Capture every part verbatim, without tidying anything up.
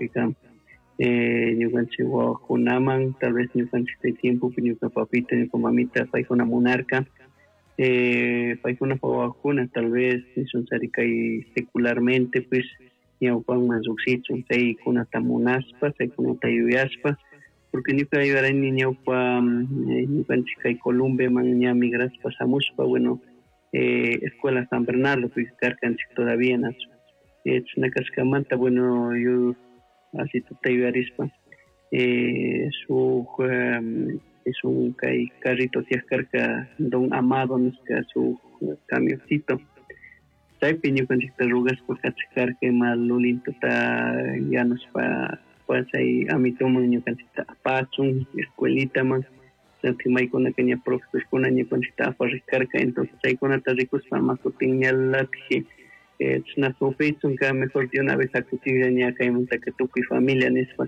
Maypika eh, ñukanchik wawakunaman tal vez ñukanchik chay tiempopi ñuka papito, ñuka mamita paykuna munarka eh, paykunapa wawakuna tal vez nishunchari kay secularmente pues ñawpanman llukshichun chaykunata munashpa, chaykunata yuyashpa, porque ñuka yuyarani ñawpa ñukanchik kay Columbeman ña migrashpa shamushpa, bueno, eh, Escuela San Bernardo karkanchik todavía nachu eh, chashna kashkamanta, bueno, yo así tuta yuyarishpa eh, shuk um, es un kay carrito tiyak karka Don Amado nishka shuk camioncito chaypi ñukanchikta rugashpa kachik karka ima lulintuta yanushpa chay amituman ñukanchikta apachun escuelitaman maykunaka ña profesorkuna ñukanchikta aparik karka. Entonces chaykunata rikushpa ama kutin ñalatik eh, chashna sufrichunka, mejor de una vez akuchilla ña kaymantaka tukuy familia nishpa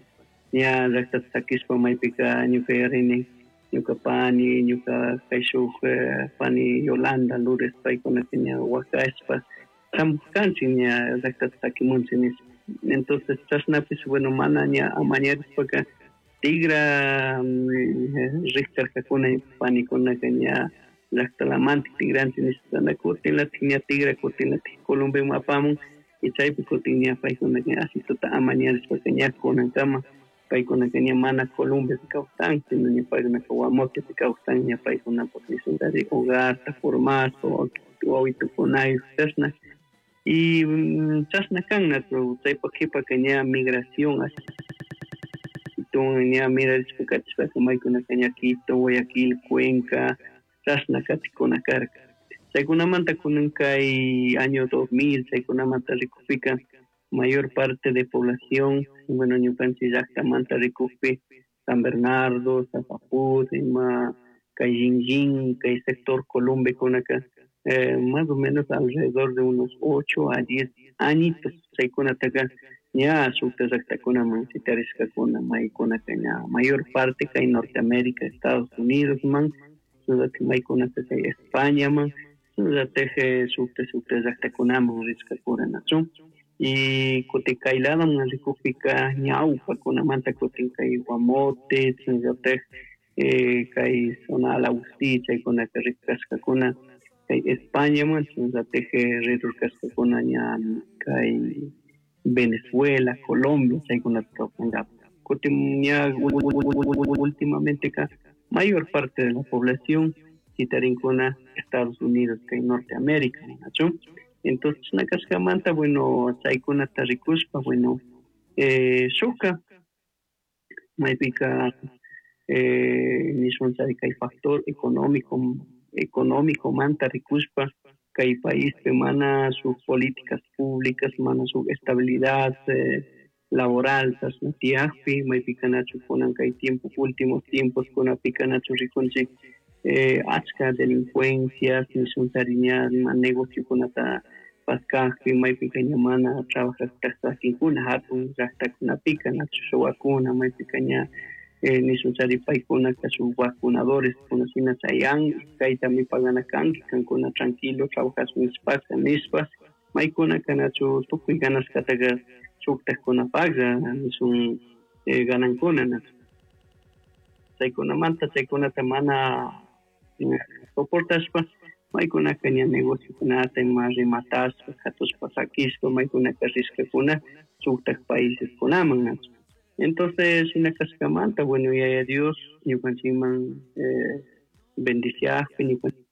ña llaktata sakishpa maypika ñuka yuyarini ñuka pani, ñuka kayshuk eh, pani Yolanda, Lourdes, paykunaka ña wakashpa shamushkanchik ña llaktata sakimunchik nishpa. Entonces chashnapish, bueno, mana ña amañarishpaka tigra rikcharkakuna panikunaka ña llaktalamantik tigranchik nishpa, kutinlatik ña tigra, kutinlatik Columbeman apamun y chaypi kutin ña paykunaka asituta amañarishpaka ña kunankama paykunaka ña mana Columbepi kawsan, sino ña paykunaka Guamotepi kawsan, ña paykunapak nishunchari hogarta formashpa wawitukunayuk chashna y chashna kan nachu. Chaypak kipaka ña migración ña mirarishpa katishpaka maykunaka ña Quito, Guayaquil, Cuenca chashna katikuna karka. Chaykunamanta kunan kay año dos mil chaykunamanta rikukpika mayor parte de población, bueno, ñukanchik llaktamanta rikukpi San Bernardo, Zapapuz, ima kay Llin, kay sector Columbekunaka eh, más o menos alrededor de unos ocho a diez añitos chaykunataka ña shukta llaktakunaman shitarishkakuna, maykunaka ña mayor parte kay Norteamérica, Estados Unidos man, shinallatik maykunaka kay Españaman, shinallatik shukta shukta llaktakunaman rishkakuna nachu. Y kutin kay ladoman rikukpika ñawpakunamanta kutin kay Guamote, shinallatik eh, kay zona Alausi chaykunaka rikashkakuna kay Españaman, shinallatik rirurkashkakuna ña kay Venezuela, Colombia chaykunata kawsankapak. Kutin ña últimamente ka mayor parte de la población shitarinkuna Estados Unidos kay Norteamérica, nachu. Entonces chashna kashkamanta, bueno, chaykunata rikushpa, bueno, eh, shukka maypika eh, nishunchari kay factor económico económico manta rikushpa kay paispi mana shuk políticas públicas, mana shuk estabilidad eh, laboral chashna tiyakpi maypika nachu kunan kay tiempo últimos tiempos kunapika nachu rikunchik eh, achka delincuencias nishunchari ña ima negociokunata paskakpi maypika ña mana trabajakta sakinkuna hatun llaktakunapika nachu shuwakuna maypika ña eh, nishunchari paykunaka shuk vacunadores kuna shina chayan kaytami pagana kanki kankuna tranquilo trabajashun nishpaka nishpa maykunaka nachu tukuy ganashkataka shuktakkunapaklla nishun eh, ganankuna nachu. Chaykunamanta chaykunata mana soportashpa maykunaka ña negociokunata ima rimatashpa katushpa sakishpa maykunaka rishkakuna shuktak paíseskunaman nachu. Entonces shina kashkamanta, bueno, yaya Dios ñukanchikman eh, bendiciakpi ñukanchik